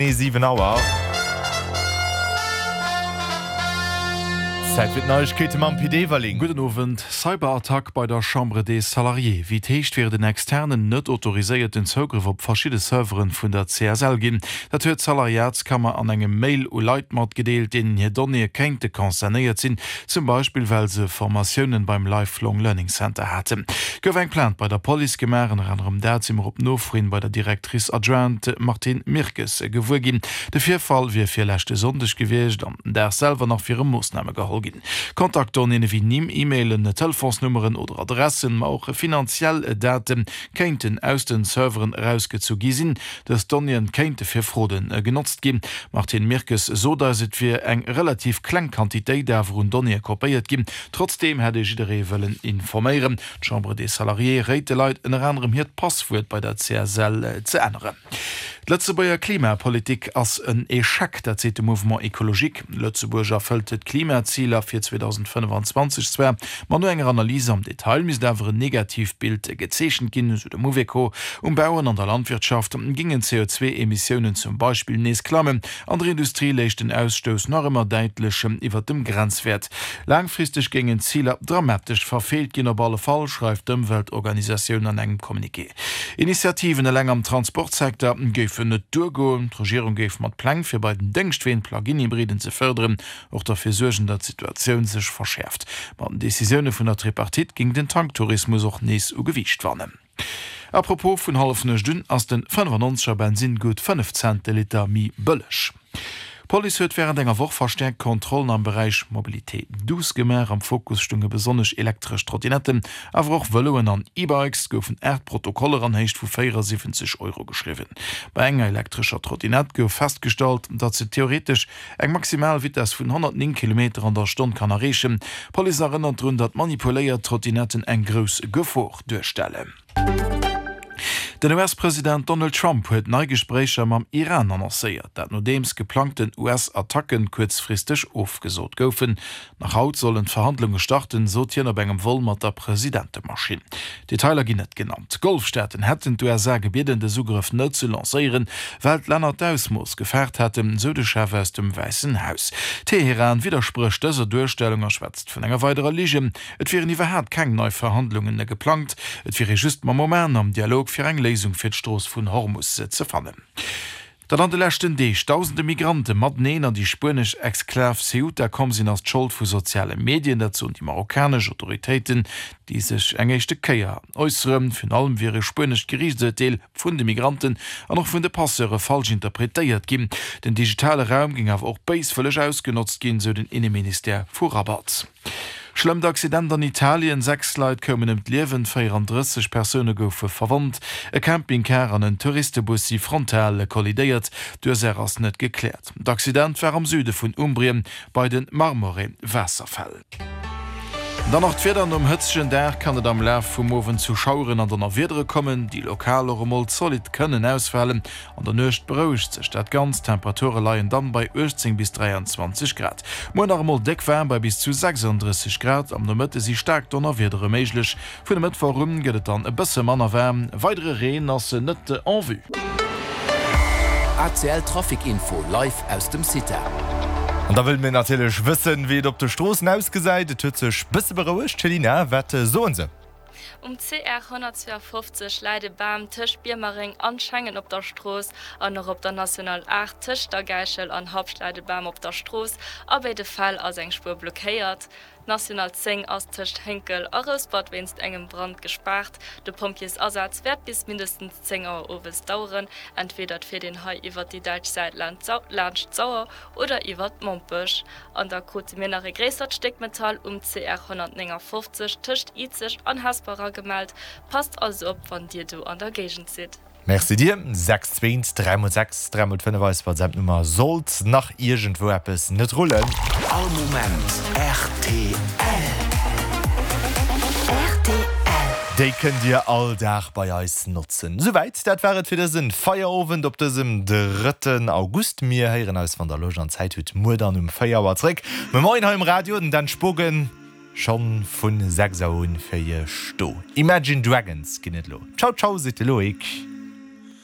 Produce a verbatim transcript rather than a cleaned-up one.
Genee siwen Auer. Zäit fir d'Neiegkeete mam Pit Everling. Gudden Owend. Cyberattack bei der Chambre des Salariés, Wéi et heescht, wier et en externen, net autoriséierten Zougrëff op verschidde Serveren vun der C S L ginn. Dat huet d'Salariatskammer an engem Mail u Leit matgedeelt, deenen hir Donnéeë kéinte concernéiert sinn, zum Beispill well se Formatiounen beim Lifelong Learning Center haten. Gouf eng Plainte bei der Police gemaach. Ënner anerem dat si mer op Nofro hin bei der Directrice adjointe Martine Mirkes gewuer ginn. De Virfall wier virleschte Sonndeg gewiescht an den Dag selwer nach wiere Moossname geholl ginn. Kontaktdonnéeën ewéi Nimm, E-Mailen, Telefonsnummeren oder Adressen, ma och finanziell Date kéinten aus den Serveren erausgezu gi sinn. Dës Donnéeën kéinte fir Fraude genotzt ginn. D'Martine Mirkes sot eis, et wier eng relativ kleng Quantitéit awer un Donnéeë kopéiert ginn. Trotzdeem hätt ee jidderee wëllen informéieren. D'Chambre des Salariés réit de Leit ënner anerem hiert Passwuert bei der C S L ze änneren. D'Lëtzebuerger Klimapolitik ass en Echec, dat seet de Mouvement Ecologique. Lëtzebuerg erfëllt d'Klimaziler fir zweedausendfënnefanzwanzeg zwar, ma no enger Analys am Detail misst awer en negatiivt Bild gezeechent ginn, esou de Mouveco. Um Bau an an der Landwirtschaft gingen d'C O zwee Emissiounen zum Beispill nees klammen, an der Industrie léich den Ausstouss nach ëmmer däitlech iwwer dem Grenzwäert. Laangfristeg géingen d'Ziler dramatesch verfeelt ginn, op alle Fall, schreift d'Ëmweltorganisatioun an engem Communiqué. Initiativen eleng am Transportsecteur géifen net duergoen. D'Regierung géif mat Pläng fir bei den Déngschtween Plug-in-Hybriden ze fërderen, och derfir suergen, datt d'Situatioun sech verschäerft. Mat den Decisioune vun der Tripartite géing den Tanktourismus och nees u Gewiicht wannen. A propos, vun Hallefnuecht un ass den fënnefannonzeger Bensinn gutt fënnef Cent de Liter méi bëlleg. D'Police huet wärend enger Woch verstäerkt Kontrollen am Beräich Mobilité douce gemaach. Am Fokus stounge besonnesch elektresch Trottinetten, awer och Vëloen an E-Bikes. Et goufen aacht Protokoller an Héicht vu véierasiwwenzeg Euro geschriwwen. Bei enger elektrescher Trottinett gouf festgestallt, datt se theoretesch eng maximal Vitess vun honnertnéng Kilometer an der Stonn kann erreechen. D'Police erënnert drun, datt manipuléiert Trottinetten eng grouss Gefor duerstellen. Den U S-President Donald Trump huet nei Gespréicher mam Iran annoncéiert, dat nodeems geplangten U S-Attacken kuerzfristeg ofgesot goufen. Nach haut sollen d'Verhandlunge starten, sot hien op engem Vol mat der Presidentemaschinn. Detailer ginn net genannt. D'Golfstaaten hätten d'U S A gebieden, dës Ugrëff net ze lancéieren, well d'Länner d'Ausmooss gefaart hätten, sou de Chef aus dem Wäissen Haus. Teheran widdersprécht dëser Duerstellung a schwätzt vun enger weiderer Ligen. Et wieren iwwerhaapt keng nei Verhandlungen geplangt, et wier ee just mam Oman am Dialog fir eng Léisung fir d'Strooss vun Hormus ze fannen. Datt an de leschten Deeg dausende Migrante mateneen an déi spuenesch Exklav Ceuta komm sinn, ass d'Schold vu soziale Medien. Dat soen déi marokkanesch Autoritéiten, déi sech eng éischte Kéier äusseren. Virun allem wier e spuenescht Geriichtsurteel vun de Migranten an och vun de Passeure falsch interpretéiert ginn. Den digitale Raum géing awer och béiswëlleg ausgenotzt ginn, sou den Inneministère vu Rabat. Schlëmmt Accident an Italien, Sechs Leit koumen ëm d'Liewen, véierandrësseg Persoune goufe verwonnt. E Campingcar an en Touristebus si frontal kollidéiert, d'Ursaach ass net gekläert. D'Accident war am Süde vun Umbrien bei de Marmore-Waasserfäll. Dann nach d'Wieder, Nom hëtzegen Dag kann et am Laf vum Owend zu Schaueren an Donnerwiedere kommen, déi lokal och emol zolidd kënnen ausfalen. An der Nuecht berouegt sech dat Ganzt, d'Temperature leien dann bei uechtzéng bis dräianzwanzeg Grad. Muer nach emol déck waarm bei bis zu sechsandrësseg Grad, am Nomëtte si staark Donnerwiedere méiglech. Vun e Mëttwoch un gëtt et dann e bësse manner waarm, weidere Reen ass net en vue. A C L Trafic Info live aus dem CITA. An da wëlle mir natierlech wëssen, wéi et op de Stroossen ausgesäit. Et huet sech bësse berouegt. Céline, wat soen se? Um C R honnertzweeafofzeg läit e Bam tëscht Biermereng an Schengen op der Strooss an och op der National aacht tëscht der Gäichel an Habscht läit e Bam op der Strooss. A béide Fäll ass eng Spuer blockéiert. D'National zéng ass tëscht Hénkel a Rouspert wéinst engem Brand gespaart. De Pompjeesasaz wäert bis mindestens zéng Auer owes daueren. Entweder et fiert een hei iwwert déi däitsch Säit laanscht d'Sauer oder iwwert Mompech. An da krute mir nach e gréissert Stéck Metall um C R honnertnéngafofzeg tëscht Izeg an Hesper eragemellt. Passt also op wann dir do an der Géigend sidd. Merci dir. Sechs zwee dräi mol sechs dräi mol fënnef eis WhatsApp-Nummer sollt nach iergendwou eppes net rullen. All Moment R T L. R T L. Déi kënnt dir all Dag bei eis notzen. Souwäit, dat war et fir dësen Feierowend op dësem drëtten August. Mir héieren eis, wann der Loscht an Zäit hutt, muer dann um véier Auer zréck. Moien hei um Radio, den Dan Spogen schonn vun sechs Auer un fir iech do. Imagine Dragons ginn et lo. Ciao ciao, seet de Loïc.